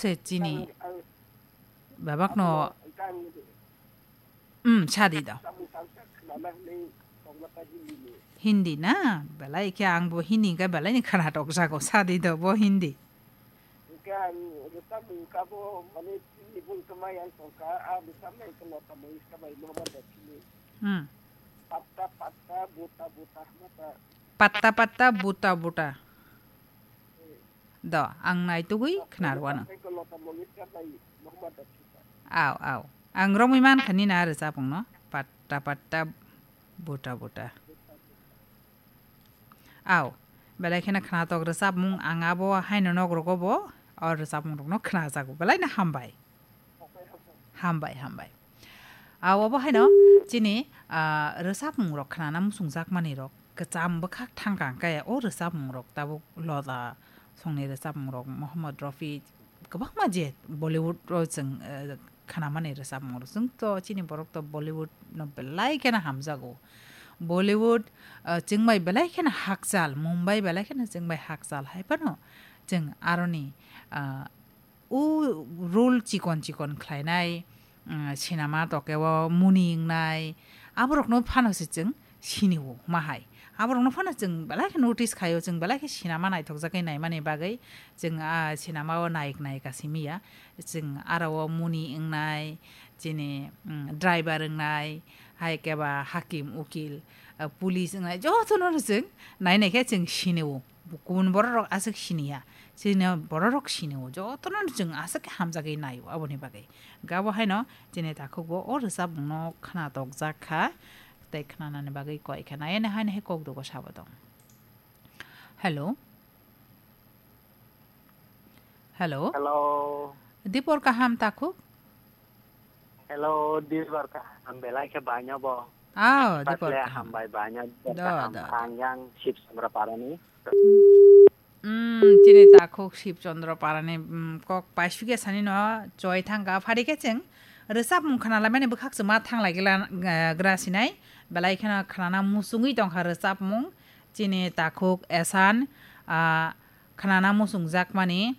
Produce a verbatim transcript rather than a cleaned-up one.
Se chini babakno, um, sadi do. Hindi na? Belai khe ang bo Hindi hwnkhe belai ni khwnatok jago, sadi do bo Hindi. Hmm. Patta patta buta buta. Do, ang naitugwi khnarwano. Aw, aw. Ang romwi mankha nini a rwchapmungno. Patta patta buta buta. Aw, belai kheno khnatok rwchapmung, ang abo haino nok rogo bo o rwchapmung rokno khnajago. Belai no hambai. Hambai, hambai. Aw, obo haino chini, ah, rwchapmung rok khnana muchungjakmani rok kwcham bwkhak thangkha hwnkhe o rwchapmung rok tabuk Loda songni rwchapmung rok Mohammad Rafi kwbangma je Bollywood o chwng, eh, khnamani rwchapmung rok. Chwng to chini borok to Bollywood no belai kheno hamjago. Bollywood, eh, chwng bai belai kheno hakchal, Mumbai belai kheno chwng bai hakchal hai phano chwng aroni, ah, o role chikon chikon khlainai, mm, sinama tokeo Muni wngnai, aborokno phano se chwng sinio ma hai. Aborokno phano chwng belai khe notice khaio, chwng belai khe sinama naithokjagwi naimani bagwi chwng a sinamao nayik nayika simi ya. Chwng aro o Muni wngnai, chini, mm, driver wngnai, hai khe ba hakim, ukil, ah, police wngnai, jotono no chwng nainai khe chwng sinio. Kubun bororok aswk siniya. Chini bororok sinio. Jotono chwng aswk khe hamjagwi naio aboni bagwi. Gabo haino chini takhukbo o rwchapmungno khnatok jak kha. Tei khnanani bagwi koi kha. Nayani haino hai kokdogo sabo tong. Hello. Hello. Hello. Dipor kaham takhuk? Hello, Dilbar kaham, belai khe baino bo. Aw, Dipor Patle kaham. Hambai baino, Dipor Do, kaham. Do. Ang yang Sip Chandra Parani. Mm, chini takhuk Sip Chandra Parani, mm, kok paisukya sani no choi thangka phari khe chwng rwchapmung khna laimani bwkhak chwma thang lai gila, eh, gra sinai. Belai kheno khnana muchungwi tongkha rwchapmung. Chini takhuk Esan, ah, khnana muchungjakmani.